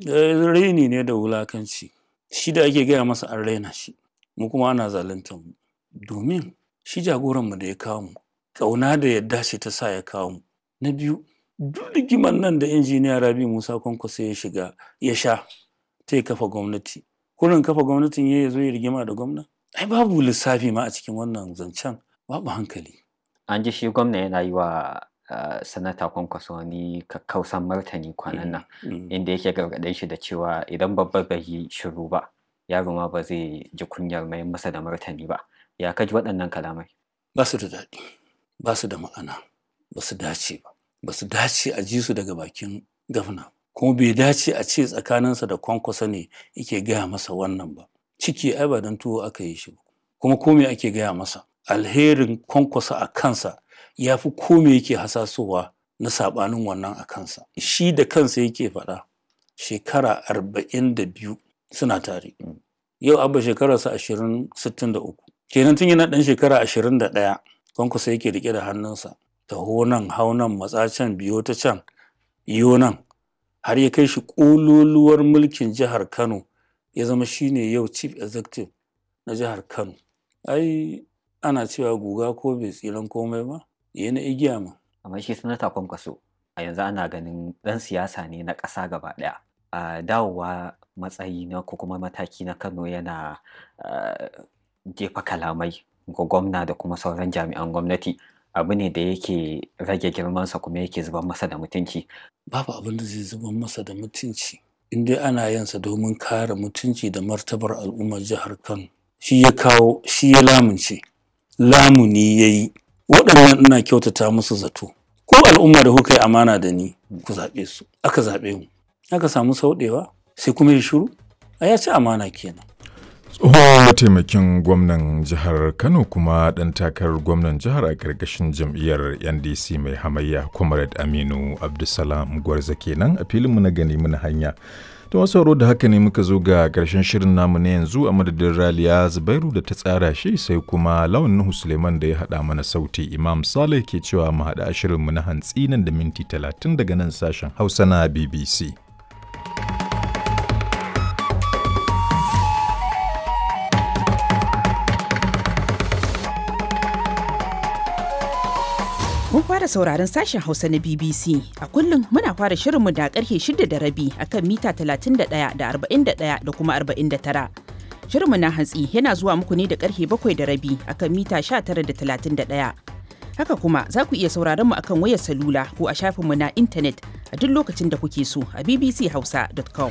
Raini ne da wulakanci. Shi da ake gaya masa an raina shi, mu kuma ana zaluntar mu. Domin shi jagoranmu da ya kawo mu, ƙauna da yadda ce ta sa ya kawo mu. Na biyu, duk rigimar nan da injiniya Rabi Musa Kwankwaso ya shiga ya sha ta kafa gwamnati. Kurin kafa gwamnatin ya zo ya rigima da gwamna? Ai babu lissafi ma a cikin wannan zancen, babu hankali. An ji shi gwamna yana yi wa sanata Kwankwaso wani kakkausan martani kwanan nan inda yake gargaɗin shi da cewa idan babba bai yi shiru ba yaro ma ba zai ji kunyar mayar masa da martani ba. Ya ka ji waɗannan kalamai? Ba su da daɗi, ba su da ma'ana, ba su dace ba, ba su dace a ji su daga bakin gwamna. Kuma bai dace a ce tsakaninsa da Kwankwaso ne yake gaya masa wannan ba. Ciki ai ba don tuwo aka yi shi ba. Kuma ko me ake gaya masa? Alherin Kwankwaso a kansa ya fi ko me yake hasasowa na saɓanin wannan a kansa. Shi da kansa yake faɗa shekara 42 suna tare. Yau Abba shekararsa 63. Kenan tun yana ɗan shekara 21 Kwankwaso yake riƙe da hannunsa. Taho nan, hau nan, matsa can, biyo ta can, iyo nan. Har ya kai shi ƙololuwar mulkin jihar Kano ya zama shine yau chief executive na jihar Kano. Ai ana cewa guga ko bai tsiran komai ba, ya na igiya ma. Amma shi sanata Kwankwaso a yanzu ana ganin ɗan siyasa ne na ƙasa gaba ɗaya. A dawowa matsayi na ko kuma mataki na Kano yana jefa kalamai ga gwamna da kuma sauran jami'an gwamnati abu ne da yake rage girmansa kuma yake zubar masa da mutunci. Babu abin da zai zubar masa da mutunci in dai ana yin sa domin kare mutunci da martabar al'ummar jihar Kano. Shi ya kawo, shi ya lamunce, lamuni ya yi. Waɗannan ina kyautata musu zato. Ko al'umma da kuka yi amana da ni ku zaɓe su, aka zaɓe mu. Aka samu sauɗewa sai kuma ya shiru, ai ya ci amana kenan. Tsohon mataimakin gwamnan jihar Kano kuma ɗan takarar gwamnan jihar a ƙarƙashin jam'iyyar NDC mai hamayya Comrade Aminu Abdulsalam Gwarza kenan a filinmu na gani muna hanya. To masu sauraro da haka ne muka zo ga ƙarshen shirin namu na yanzu a madadin Raliya Zubairu da ta tsara shi sai kuma Lawan Nuhu Suleiman da ya haɗa mana sauti Imam Saleh ke cewa mu haɗa shirinmu na hantsi nan da minti 30 daga nan sashen Hausa na BBC. Kun fara sauraron sashen Hausa na BBC. A kullum muna fara shirinmu da karfe 6:30 akan mita 31 da 41 da kuma 49. Shirinmu na hantsi yana zuwa muku ne da karfe 7:30 akan mita 19 da 31. Haka kuma za ku iya sauraron mu akan wayar salula ko a shafinmu na intanet a duk lokacin da kuke so a bbchausa.com.